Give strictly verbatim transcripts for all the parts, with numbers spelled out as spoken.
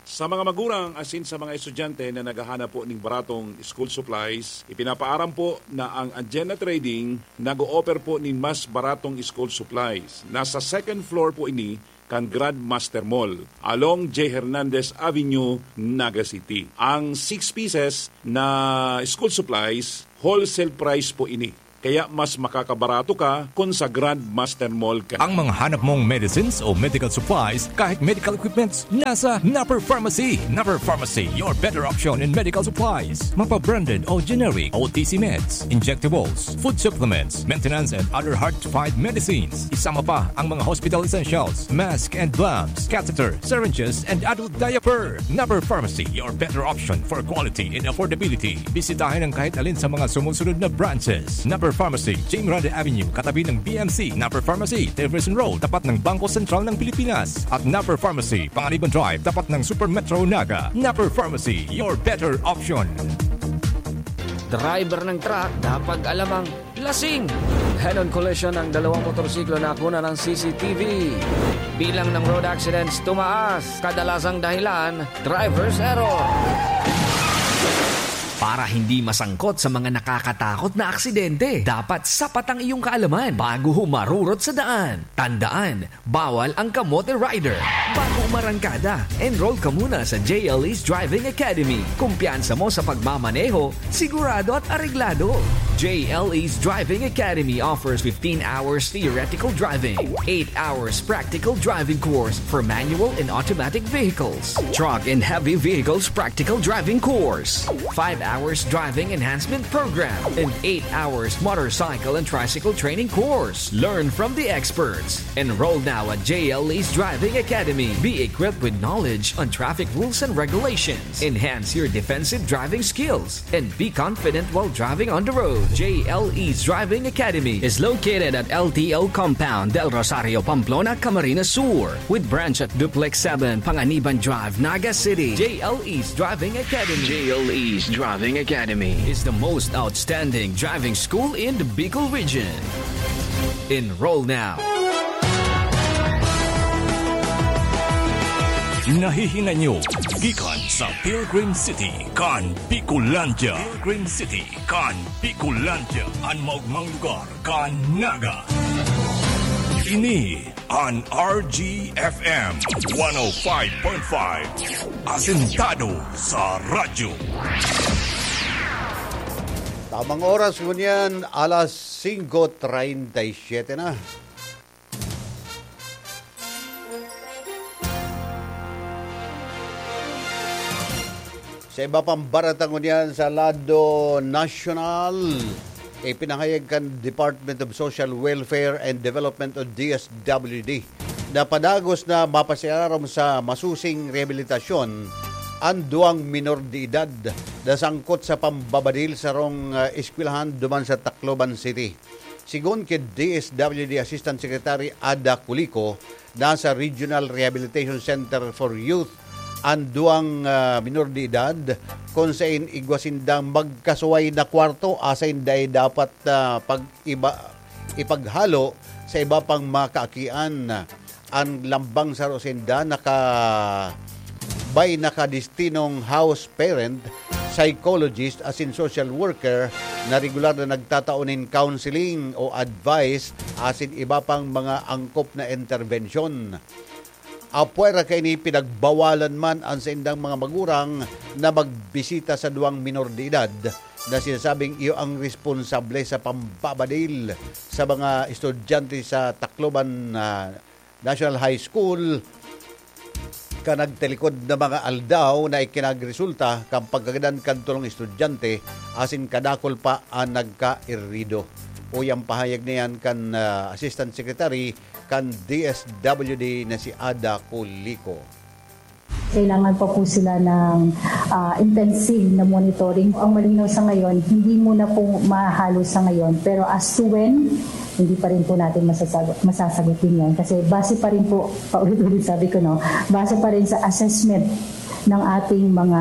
Sa mga magurang asin sa mga estudyante na naghahanap po ning baratong school supplies, ipinapaaram po na ang Anjena Trading nag-o-offer po nin mas baratong school supplies. Nasa second floor po ini kan Grandmaster Mall, along J Hernandez Avenue, Naga City. Ang six pieces na school supplies, wholesale price po ini. Kaya mas makakabarato ka kung sa Grandmaster Mall ka. Ang mga hanap mong medicines o medical supplies, kahit medical equipments, nasa Napper Pharmacy. Napper Pharmacy, your better option in medical supplies. Mapa-branded o generic, O T C meds, injectables, food supplements, maintenance and other hard-to-find medicines. Isama pa ang mga hospital essentials, mask and gloves, catheter, syringes, and adult diaper. Napper Pharmacy, your better option for quality and affordability. Bisitahin ang kahit alin sa mga sumusunod na branches. Napper Pharmacy, Jim Grande Avenue, katabi ng B M C. Napper Pharmacy, Jefferson Road, tapat ng Bangko Sentral ng Pilipinas. At Napper Pharmacy, Panganiban Drive, tapat ng Super Metro Naga. Napper Pharmacy, your better option. Driver ng truck, dapat alam ang lasing. Head-on collision ng dalawang motorsiklo na kunan ng C C T V. Bilang ng road accidents tumaas. Kadalasang dahilan, driver's error. Para hindi masangkot sa mga nakakatakot na aksidente, dapat sapat ang iyong kaalaman bago humarurot sa daan. Tandaan, bawal ang kamote rider. Bago umarangkada, enroll ka muna sa J L E's Driving Academy. Kumpiyansa mo sa pagmamaneho, sigurado at areglado. J L E's Driving Academy offers fifteen hours theoretical driving, eight hours practical driving course for manual and automatic vehicles, truck and heavy vehicles practical driving course, five hours driving enhancement program, and eight hours motorcycle and tricycle training course. Learn from the experts. Enroll now at J L E's Driving Academy. Be equipped with knowledge on traffic rules and regulations. Enhance your defensive driving skills and be confident while driving on the road. J L E's Driving Academy is located at L T O Compound, Del Rosario, Pamplona, Camarines Sur, with branch at Duplex seven, Panganiban Drive, Naga City. J L E's Driving Academy. J L E's Driving Academy is the most outstanding driving school in the Bicol region. Enroll now. Nahihinay nyo gikan sa Pilgrim City kan Bicolandia. Pilgrim City kan Bicolandia, an maogmang lugar kan Naga. Ini an R G F M one oh five point five. Asentado sa radyo. Tamang oras ngunyan, alas singko treinta y siete na. Sa iba pang barata ngunyan sa lado nasyonal, ipinahayag kan Department of Social Welfare and Development o D S W D na padagos na mapasiararom sa masusing rehabilitasyon an duwang minor de edad na sangkot sa pambabadil sarong, ah, eskwelahan duman sa Tacloban City. Sigon ki D S W D Assistant Secretary Ada Culico, nasa Regional Rehabilitation Center for Youth an duwang, ah, minor de edad, kun saen igwa sindang magkasuway na kwarto asin dai dapat, ah, pag-iba, ipaghalo sa iba pang mga kaakian. An lambang saro sinda naka-, may nakadestinong house parent, psychologist asin social worker na regular na nagtatao nin counseling o advice asin iba pang mga angkop na interbensyon. Apwera kaini, pinagbawalan man an saindang mga magurang na magbisita sa duwang minor de edad na sinasabing iyo ang responsable sa pambabadil sa mga estudyante sa Tacloban, ah, National High School kan nagtalikod na mga aldaw na ikinagresulta kan pagkagadan kan tolong estudyante asin kadakul pa an nagkairido. Uya an pahayag na iyan kan, ah, Assistant Secretary kan D S W D na si Ada Culico. Kailangan pa po sila ng, ah, intensive na monitoring. Ang malinaw sa ngayon, hindi muna po mahalo sa ngayon. Pero as to when, hindi pa rin po natin masasagot, masasagot din yan. Kasi base pa rin po, paulit-ulit sabi ko, no, base pa rin sa assessment ng ating mga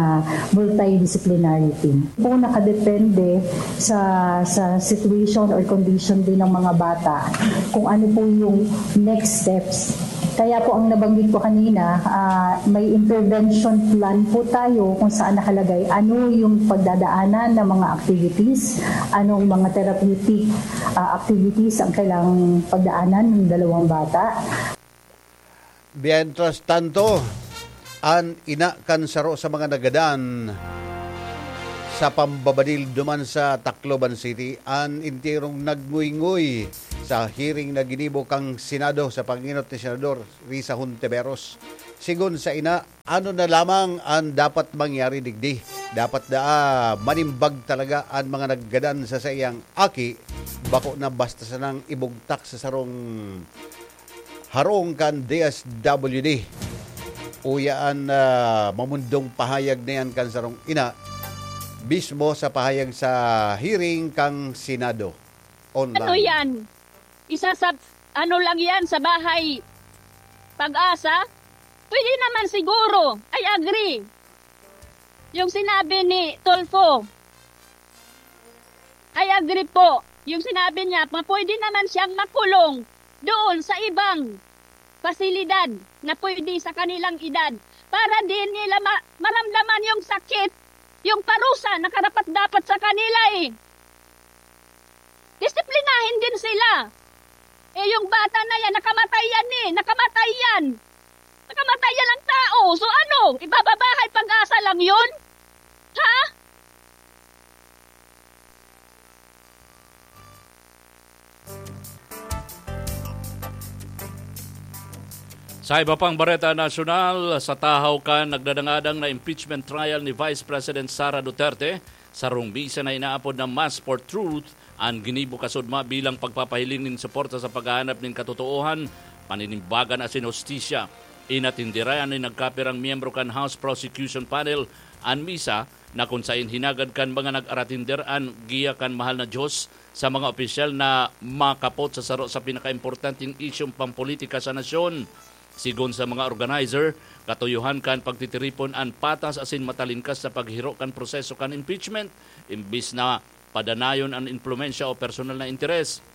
multidisciplinary team. Po nakadepende sa, sa situation or condition din ng mga bata kung ano po yung next steps Kaya po ang nabanggit ko kanina, ah, may intervention plan po tayo kung saan nakalagay ano yung pagdadaanan ng mga activities, anong mga therapeutic, ah, activities ang kailangang pagdaanan ng dalawang bata. Mientras tanto, an ina kan saro sa mga nagadan sa pambabadil duman sa Tacloban City, an enterong nagnguynguy sa hearing na ginibo kan Senado sa pangenot ni Senador Risa Hontiveros. Sigon sa ina, ano na lamang an dapat mangyari digdi? Dapat daa manimbag talaga an mga naggadan sa saiyang aki, bako na basta sanang ibugtak sa sarong harong kan D S W D. Uya an, ah, mamundong pahayag na yan kan sarong ina mismo sa pahayag sa hearing kan Senado online. Ano yan? Isa sa, ano lang yan, sa bahay pag-asa? Pwede naman siguro. I agree. Yung sinabi ni Tulfo, I agree po. Yung sinabi niya, ma- pwede naman siyang makulong doon sa ibang pasilidad na pwede sa kanilang edad para di nila ma- maramdaman yung sakit, yung parusa na karapat-dapat sa kanila eh. Disiplinahin din sila. Eh, yung bata na yan, nakamatay yan eh. Nakamatay yan. Nakamatay yan ang tao. So ano? Ibababahay pag-asa lang yun? Ha? Sa iba pang bareta nasyonal, sa tahaw kan nagdadangadang na impeachment trial ni Vice President Sara Duterte, sarong misa na inaapod na Mass for Truth an ginibo kasudma bilang pagpapahiling nin suporta sa paghahanap nin katotoohan, paninimbagan asin hustisya. Inatindirayan nin nagkapirang miyembro kan House Prosecution Panel an misa na kun saen hinagad kan mga nag-aratinder an giya kan Mahal na Dios sa mga opisyal na makapot sa saro sa pinakaimportanteng isyung pampolitika sa nasyon. Sigon sa mga organizer, katuyohan kan pagtitiripon an patas asin matalingkas na paghiro kan proseso kan impeachment, imbis na padanayon an impluwensya o personal na interes.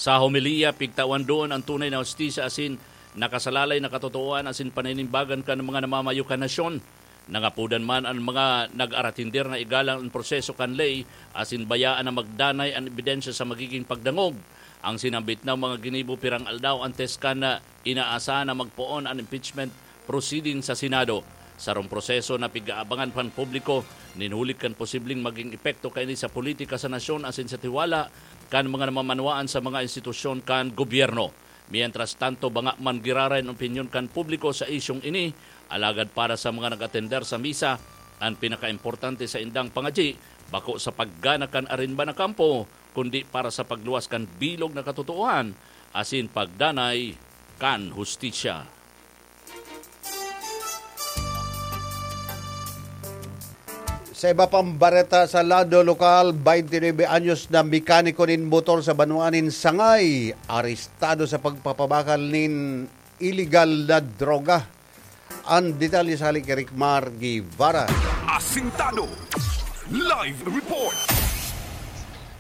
Sa homilya, pigtawan doon an tunay na hustisya asin nakasalalay na katotoohan asin paninimbagan kan mga namamayo kan nasyon. Nangapodan man an mga nag-aratinder na igalang an proseso kan ley asin bayaan na magdanay an ebidensya sa magiging pagdangog. Ang sinambit na mga ginibo pirang aldaw antes kan inaasahan na magpoon an impeachment proceeding sa Senado, sarong proseso na pig-aabangan kan publiko nin huli kan posibleng maging epekto kaini sa politika sa nasyon asin sa tiwala kan mga namamanwaan sa mga institusyon kan gobyerno. Mientras tanto, banga man giraray an opinyon kan publiko sa isyong ini, alagad para sa mga nag-atender sa misa, an pinakaimportante sa indang pangadyi bako sa paggana kan arimba na kampo, kundi para sa pagluwas kan bilog na katotoohan asin pagdanay kan hustisya. Sa iba pang bareta sa lado lokal, twenty-nine anyos na mekaniko nin motor sa banwaan nin Sangay, arestado sa pagpapabakal nin iligal na droga. Ang detalye sa hali kay Ricmar Guevara. Asintado Live Report.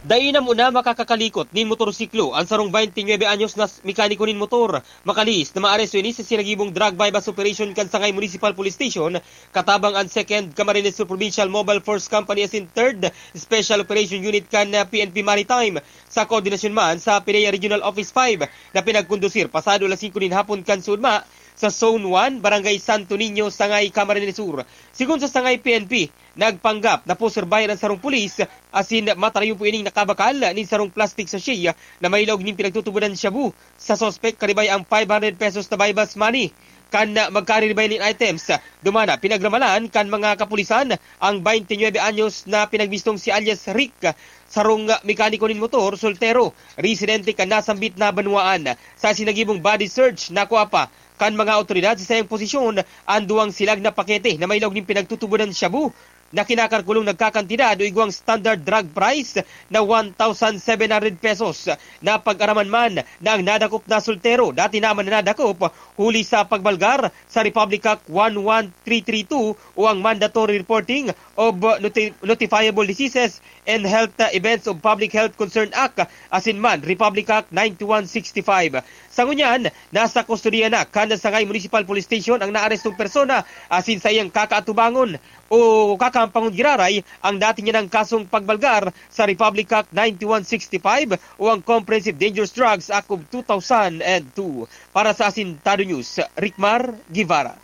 Dai na muna makakakalikot nin motorsiklo an sarong twenty-nine anyos na mekaniko nin motor. Makalihis na maaresto ini sa sinagibong drug buy-bust operation kan Sangay Municipal Police Station, katabang an Second Camarines Sur Provincial Mobile Force Company asin Third Special Operation Unit kan P N P Maritime, sa koordinasyon man sa PDEA Regional Office five na pinagkondusir pasado alas singko nin hapon kan Sudma, sa Zone one, Barangay Santo Niño, Sangay, Camarines Sur. Sigon sa Sangay P N P, nagpanggap na poserbayan an sarong pulis asin matarayon po ining nakabakal nin sarong plastic sachet na may laog nin pinagtutubodan shabu. Sa suspek, karibay ang five hundred pesos na buy-bust money. Kan magkariribay nin items, dumana pinagramalan kan mga kapulisan ang twenty-nine anyos na pinagbistong si alias Rick, sarong mekaniko nin motor, soltero, residente kan nasambit na banwaan. Sa sinagibong body search, nakua pa kan mga awtoridad sa saiyang posisyon an duwang silag na pakete na may laog nin pinagtutubodan shabu. na kinakalkulong nagkakantidad o igwang standard drug price na one thousand seven hundred pesos. Napag-araman man na ang nadakop na soltero dati naman na nadakop huli sa pagbalgar sa Republic Act one one three three two o ang Mandatory Reporting of Noti- Notifiable Diseases and Health Events of Public Health Concern Act asin man Republic Act ninety-one sixty-five. Sa ngunyan, nasa kustodiya na kan Sangay Municipal Police Station ang naarestong persona asin sa iyang kakaatubangon o kakampangon giraray ang dati niya ng kasong pagbalgar sa Republic Act ninety-one sixty-five o ang Comprehensive Dangerous Drugs Act of two thousand two. Para sa Asintado News, Ricmar Guevara.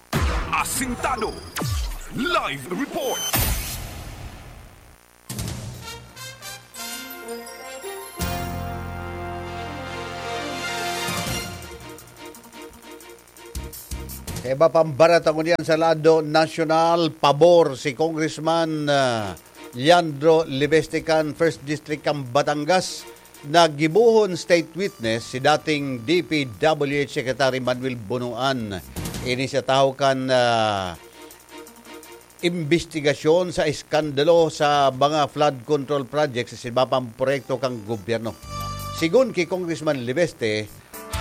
Asintado. Live report. Sa iba pang barat, ako niyan sa lado nasyonal, pabor si Congressman, ah, Leandro Libeste kan First District kan Batangas. Naggibohon state witness si dating D P W H Secretary Manuel Bonoan. Ini sa tahaw kan, ah, imbestigasyon sa eskandalo sa mga flood control projects sa iba pang proyekto kan gobyerno. Sigon ki Congressman Libeste,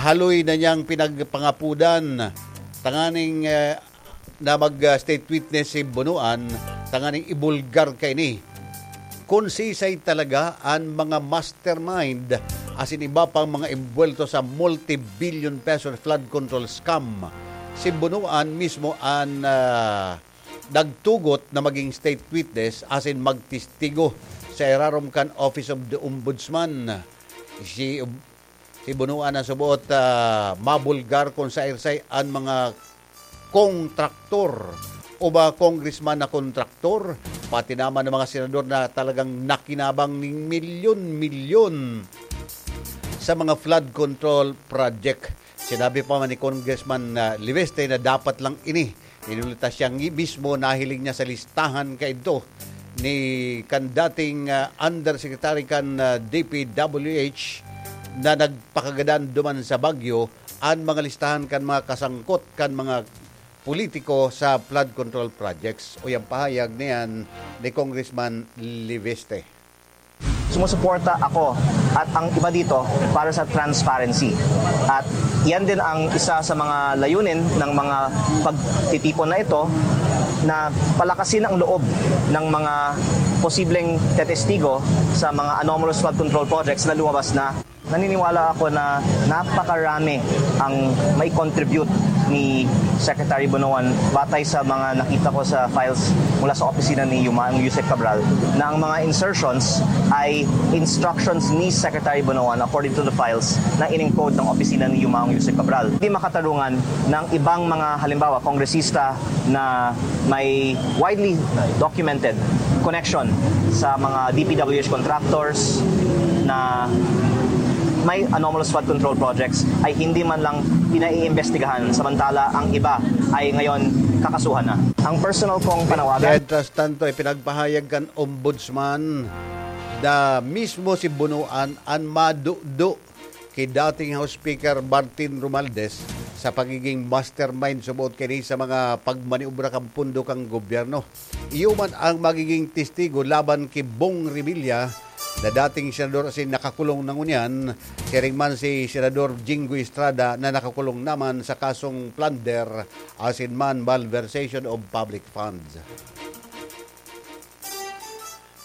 haloy na niyang pinagpangapudan tanganing, eh, na mag, ah, state witness si Bonoan tanganing ibulgar kaini. Kun sisay talaga an mga mastermind asin iba pang mga imbuwelto sa multi-billion peso flood control scam, si Bonoan mismo an, ah, nagtugot na maging state witness asin magtestigo sa irarom kan Office of the Ombudsman. Si, si Bonoan na suboot, ah, mabulgar kung saisay an mga kontraktor o mga congressman na kontraktor, pati naman ang mga senador na talagang nakinabang ning milyon-milyon sa mga flood control project. Sinabi pa man ni Congressman, ah, Liveste na dapat lang ini. Inuli ta siya ngi-, mismo nahiling niya sa listahan kaidto ni kan dating, ah, undersecretary kan, ah, D P W H na nagpakagadan duman sa Baguio an mga listahan kan mga kasangkot kan mga politiko sa flood control projects. O yang pahayag niyan ni Congressman Liveste. Sumusuporta ako at ang iba dito para sa transparency. At yan din ang isa sa mga layunin ng mga pagtitipon na ito, na palakasin ang loob ng mga posibleng tetestigo sa mga anomalous flood control projects na lumabas na. Naniniwala ako na napakarami ang may contribute ni Secretary Bonoan, batay sa mga nakita ko sa files mula sa opisina ni Yumaong Yusek Cabral, na ang mga insertions ay instructions ni Secretary Bonoan, according to the files na in-encode ng opisina ni Yumaong Yusek Cabral. Di makatarungan ng ibang mga, halimbawa, kongresista na may widely documented connection sa mga D P W H contractors na may anomalous flood control projects ay hindi man lang pinaiimbestigahan, samantala ang iba ay ngayon kakasuhan na. Ang personal kong panawagan. Mientras tanto, ipinagpahayag kan Ombudsman na mismo si Bonoan an madudo ki dating House Speaker Martin Romualdez sa pagiging mastermind suboot kaini sa mga pagmaniobra kan pondo kan gobyerno. Iyo man ang magiging testigo laban ki Bong Revilla na dating senador asin nakakulong na ngunyan, siring man si Senador Jinggoy Estrada na nakakulong naman sa kasong plunder asin man malversation of public funds.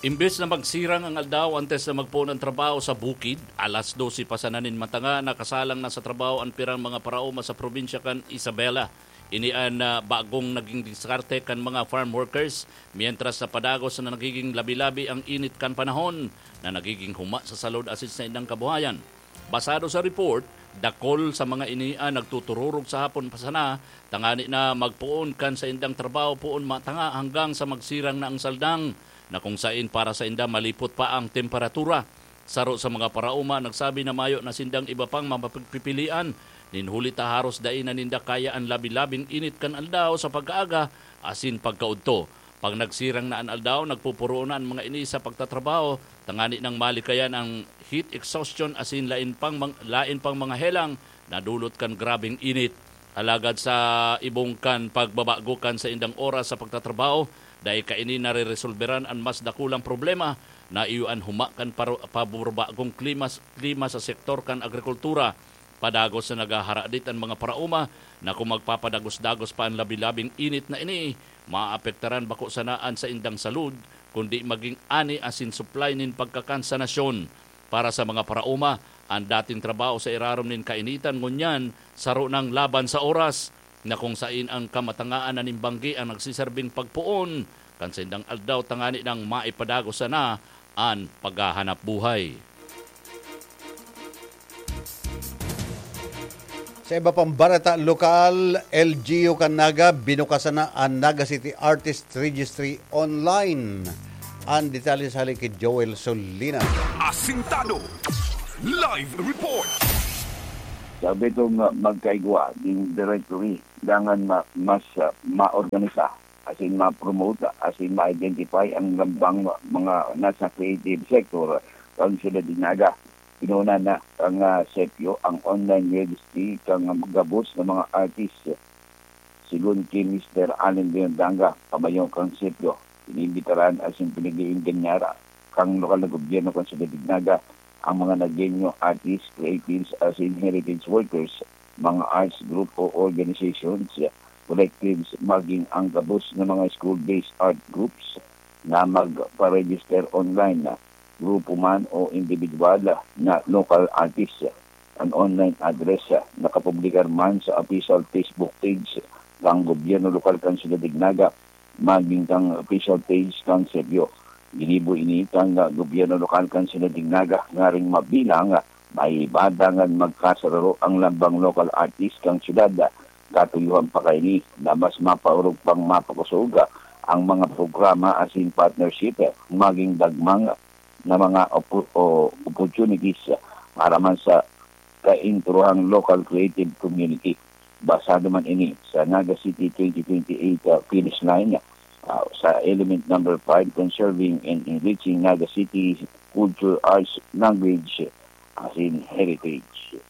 Imbes na magsirang ang aldaw antes na magpoon ang trabaho sa bukid, alas dose pa sana nin matanga, nakasalang na sa trabaho an pirang mga paraoma sa probinsya kan Isabela. Ini an, ah, bagong naging diskarte kan mga farm workers, mientras na padagos na nagiging labi-labi ang init kan panahon na nagiging huma sa salud asin sa indang kabuhayan. Basado sa report, dakol sa mga ini an nagtutururog sa hapon pa sana tangani na magpoon kan saindang trabaho poon matanga hanggang sa magsirang na ang saldang, na kung sain para sainda malipot pa ang temperatura. Saro sa mga paraoma nagsabi na mayo na sindang iba pang mapagpipilian, nin huli ta haros dai na ninda kaya an labi-labing init kan aldaw sa pagkaaga asin pagkaudto. Pag nagsirang na an aldaw, nagpupuruon na an mga ini sa pagtatrabaho, tangani nang malikayan ang heat exhaustion asin lain pang mang-, lain pang mga helang na dulot kan grabeng init. Alagad sa ibong kan pagbabago kan saindang oras sa pagtatrabaho, Dai kaini nareresolberan an mas dakulang problema na iyo an huma kan paro-, paburbagong klima, klima sa sektor kan agrikultura. Padagos na naghaharadit an mga paraoma na kung magpapadagos-dagos pa an labi-labing init na ini, maapektaran bako sana an saindang salud, kundi magin ani asin supply nin pagkakan sa nasyon. Para sa mga paraoma, an dating trabaho sa irarom nin kainitan ngunyan saro nang laban sa oras, na kung sain ang kamatangaan na nin banggi ang nagsiserbing pagpoon kan saindang aldaw tangani nang maipadagos sana an paghahanap buhay. Sa iba pang bareta lokal, L G U kan Naga, binukasan na an Naga City Artist Registry online. An detalye sa hali ki Joel Solinas. Asintado. Live report. Sabi itong, ah, magkaigwa, yung directory, dangan ma-, mas, ah, maorganisa, asin ma-promote, asin ma-identify ang lambang mga nasa creative sector kan Syudad de Naga. Pinuna na kan, ah, sepyo ang online registry kan gabos na mga artist. Sigon ki Mister Allen Leon Danga, pamayo kan sepyo, inimbitaran asin pinag-iingganyara kan lokal na gobyerno kan Syudad de Naga ang mga Nagueño artists, creatives asin heritage workers, mga arts group o organizations, collectives, maging ang gabos na mga school-based art groups na magpa-register online na grupo man o individual na local artist. An online address, ah, nakapublikar man sa official Facebook page kan gobyerno lokal kan Syudad de Naga, maging kan official page kan sepyo. Ginibo ini kan, ah, gobyerno lokal kan Syudad de Naga ngaring mabilang, ah, may iba dangan magkasararo ang lambang local artist kan syudad. Katuyohan pa kaini na mas mapaorog pang mapakosog, ah, ang mga programa asin partnership, ah, maging dagmang na mga opo-, o opportunities, ah, para man sa kaintrohang local creative community. Basado man ini sa Naga City twenty twenty-eight, ah, finish line, ah, sa element number five, Conserving and Enriching Naga City Culture, Arts, Language, asin Heritage.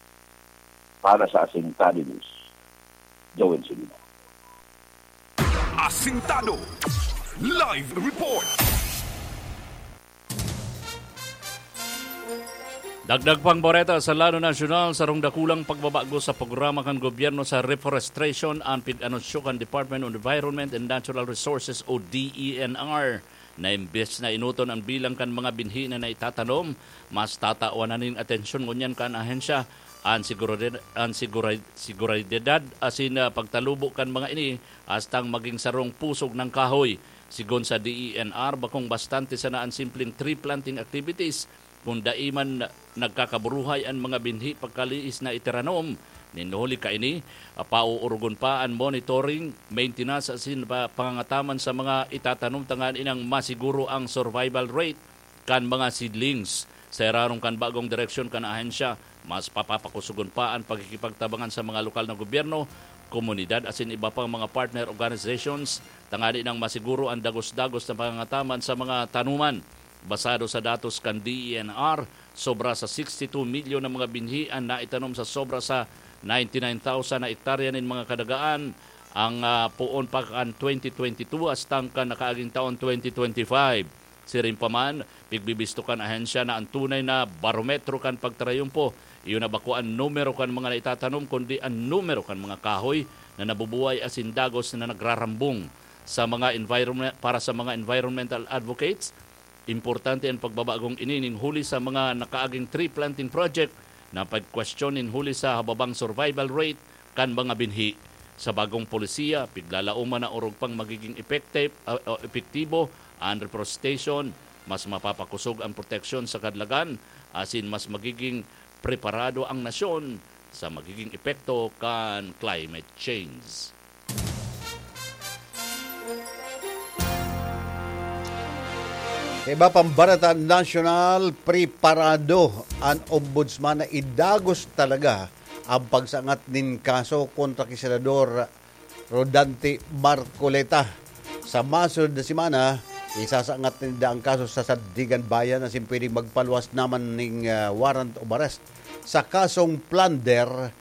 Para sa Asintado News, Joel Silva. Asintado. Live report. Dagdag pang bareta sa lado nasyonal, sarong dakulang pagbabago sa programa kan gobyerno sa reforestation an pig-anunsyo kan Department of Environment and Natural Resources o D E N R, na imbes na enoton an bilang kan mga binhi na naitatanom, mas tatawan na nin atensyon ngunyan kan ahensya an sigurade-, an sigura-, seguridad asin, ah, pagtalubo kan mga ini, hastang maging sarong pusog ng kahoy. Sigon sa D E N R, bakong bastante sana an simpleng tree planting activities kun dai man nagkakaburuhay an mga binhi pagkaliis na itiranom. Nin huli kaini, ah, pauurugon pa an monitoring, maintenance asin pa, pangangataman sa mga itatanom tanganing masiguro ang survival rate kan mga seedlings. Sa irarom kan bagong direksyon kan ahensya, mas papapakusogon pa an pagkikipagtabangan sa mga lokal na gobyerno, komunidad asin iba pang mga partner organizations tangani nang masiguro an dagos-dagos na pangangataman sa mga tanuman. Basado sa datos kan D E N R, sobra sa sixty-two milyon na mga binhi an naitanom sa sobra sa ninety-nine thousand na ektarya nin mga kadagaan ang, ah, poon pa kan twenty twenty-two hastang kan nakaaging taon twenty twenty-five. Siring pa man, pigbibisto kan ahensya na an tunay na barometro kan pagtarayumpo, iyo na bako an numero kan mga naitatanom, kundi an numero kan mga kahoy na nabubuhay asin dagos na nagrarambong. Sa mga environment, para sa mga environmental advocates, importante an pagbabagong ini nin huli sa mga nakaaging tree planting project na pagkwestiyon nin huli sa hababang survival rate kan mga binhi. Sa bagong polisiya, piglalaoman na orog pang magiging epekte-, ah, ah, epektibo an reforestation, mas mapapakusog ang proteksyon sa kadalagan, asin mas magiging preparado ang nasyon sa magiging epekto kan climate change. Sa iba pang bareta nasyonal, preparado an ombudsman na idagos talaga ang pagsangat nin kaso kontra ki Senador Rodante Marcoleta. Sa masunod na semana, isasangat ninda ang kaso sa Sandiganbayan asin pwedeng magpaluwas naman ning, ah, warrant of arrest sa kasong plunder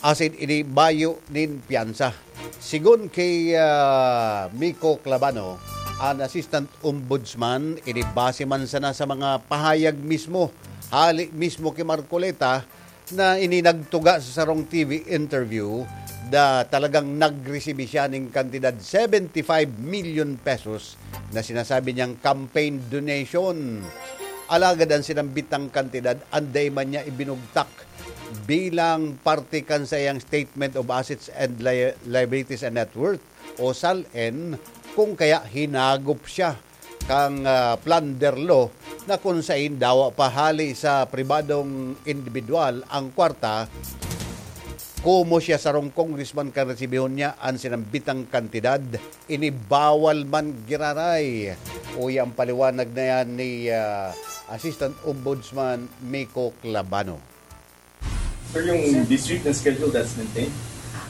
asin ini bayo nin piyansa. Sigon ki, ah, Miko Clabano, an Assistant Ombudsman, ini base man sana sa mga pahayag mismo, hali mismo ki Marcoleta, na ini nagtuga sa sarong T V interview na talagang nagresibi siya nin kantidad seventy-five million pesos na sinasabi niyang campaign donation. Alagad an sinambitang kantidad, anday man niya ibinugtak bilang parte kan saiyang Statement of Assets and Li-, Liabilities and Net Worth o SALN, kung kaya hinagop siya kan, ah, plunder law na kun saen dawa pa hali sa pribadong indibidwal ang kwarta, komo siya sarong congressman kan resibihon niya an sinambitang kantidad, ini bawal man giraray. Uya ang paliwanag na yan ni, ah, Assistant Ombudsman Miko Clabano. Sir, yung district na schedule, that's maintained?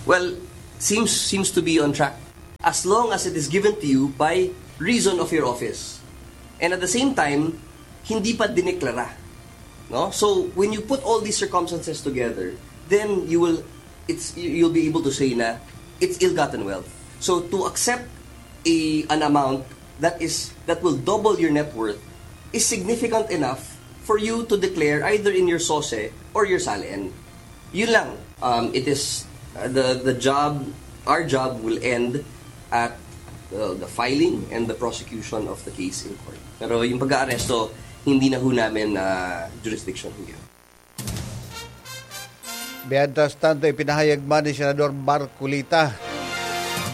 Well, seems seems to be on track as long as it is given to you by reason of your office. And at the same time, hindi pa dineklara. No? So, when you put all these circumstances together, then you will it's you'll be able to say na it's ill-gotten wealth. So, to accept a an amount that is that will double your net worth is significant enough for you to declare either in your SOSE or your SALN. Yun lang. Um, it is uh, the the job our job will end at uh, the filing and the prosecution of the case in court. Pero yung pag-aaresto, hindi na ho namin uh, jurisdiction yun. Mientras tanto, ipinahayag man ni Senador Marcoleta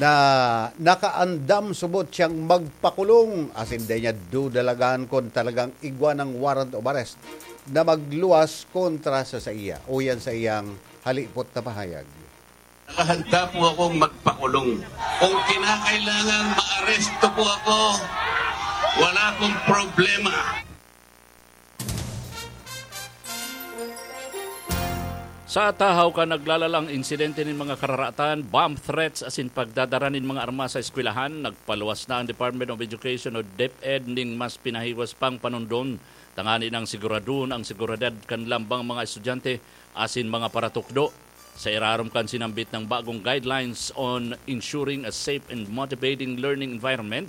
na nakaandam subot siyang magpakulong asin dai niya dudalagan kun talagang igwa ng warrant of arrest na magluwas kontra sa saiya. Uyan sa iyang halipot na pahayag. Nakahanda po akong magpakulong. Kung kinakailangan maaresto po ako, wala akong problema. Sa tahaw kan naglalalang insidente nin mga kararatan, bomb threats asin pagdadara nin mga armas sa eskwelahan, nagpaluwas na ang Department of Education o DepEd nin mas pinahiwas pang panundon tangani nang siguradon ang seguridad kan lambang mga estudyante asin mga paratukdo. Sa irarom kan sinambit nang bagong Guidelines on Ensuring a Safe and Motivating Learning Environment,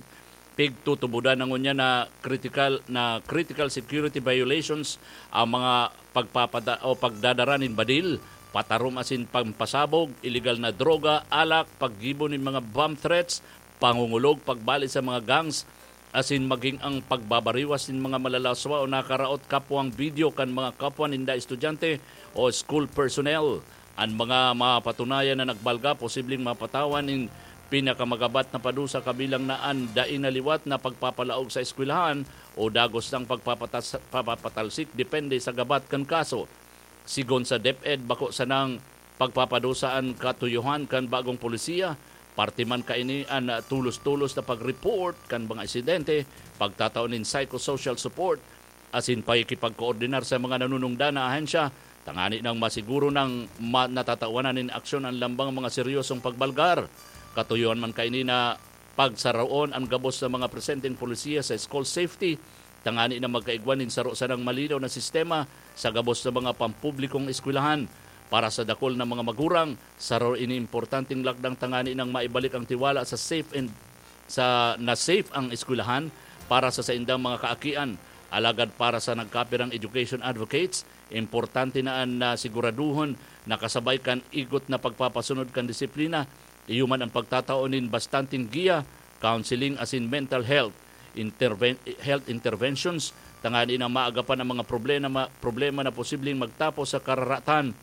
pigtutubodan na ngunyan na critical na critical security violations ang mga pagpapada o pagdadara nin badil, patarom asin pampasabog, iligal na droga, alak, paggibo nin mga bomb threats, pangungulog, pagbali sa mga gangs, asin maging ang pagbabariwas nin mga malalaswa o nakaraot kapwang video kan mga kapwa ninda estudyante o school personnel. An mga mapatunayan na nagbalga posibleng mapatawan nin pinakamagabat na padusa kabilang na an dai na liwat na pagpapalaog sa eskwelahan o dagos nang pagpapatas- pagpapatalsik depende sa gabat kan kaso. Sigon sa DepEd, bako sanang pagpapadusa an katuyohan kan bagong polisiya, parte man kaini an tulos-tulos na pag-report kan mga insidente, pagtatao nin psychosocial support, asin pakikipagkoordinar sa mga nanunungdan na ahensya tangani nang masiguro nang ma- natatawanan nin aksyon an lambang mga seryosong pagbalgar. Katuyohan man kaini na pagsaroon an gabos na mga presenteng polisiya sa school safety tangani na magkaigwa nin saro sanang malinaw na sistema sa gabos na mga pampublikong eskwelahan. Para sa dakul na mga magurang, saro ini importanteng lakdang tangani nang maibalik ang tiwala sa safe and sa na safe ang eskwelahan para sa saindang mga kaakian. Alagad para sa nagkapirang education advocates, importante na an na siguraduhon na kasabay kan igot na pagpapasunod kan disiplina, iyo man an pagtatao nin bastanteng giya, counseling asin mental health interven- health interventions tangani na maagapan ang mga problema problema na posibleng magtapos sa kararatan.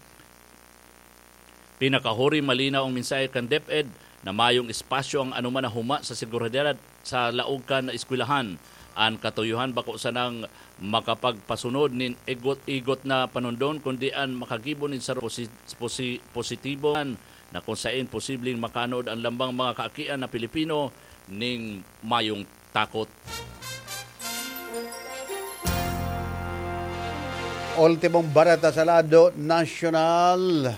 Pinakahuri, malinaw ang mensahe kan DepEd na mayong espasyo ang anoman na huma sa seguridad sa laog kan eskwelahan. An katuyohan bako sanang makapagpasunod nin igot-igot na panundon, kundi an makagibo nin saro posi- posi- positibo na kung sain posibleng makaanood an lambang mga kaakian na Pilipino ning mayong takot. Ultimong bareta sa lado nasyonal.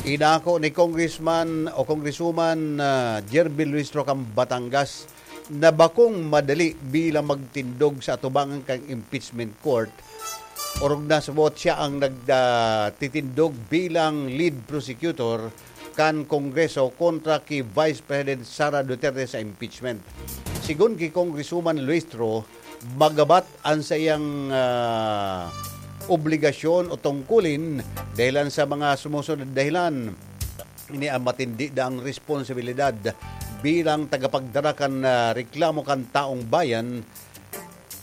Inako ni Congressman o Congresswoman, ah, Jervil Luis Roca kan Batangas na bakong madali bilang magtindog sa atubangan kan impeachment court Orog na sa buot siya ang nagtitindog bilang lead prosecutor kan Kongreso kontra ki Vice President Sara Duterte sa impeachment. Sigon ki Congresswoman Luistro, magabat an saiyang ah, obligasyon o tungkulin dahilan sa mga sumusunod na dahilan. Ini ang matindi daang responsibilidad bilang tagapagdara kan ah, reklamo kan taong bayan,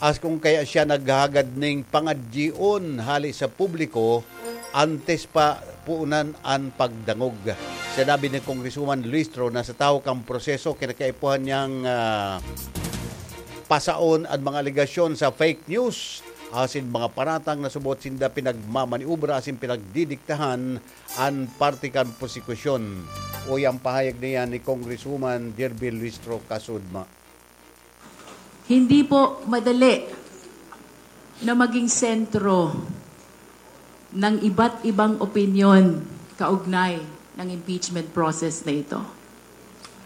as kung kaya siya naghahagad ning pangadyion hali sa publiko antes pa puunan an pagdangog. Sinabi ni Congresswoman Luistro na sa tahaw kan proseso, kinakaipuhan niyang ah, pasaon an mga alegasyon sa fake news asin mga paratang na subot sinda pinagmamaniobra asin pinagdidiktahan an parte kan prosekusyon. Uya ang pahayag na yan ni Congresswoman Derby Luistro Kasudma. Hindi po madali na maging sentro ng iba't ibang opinyon kaugnay ng impeachment process na ito.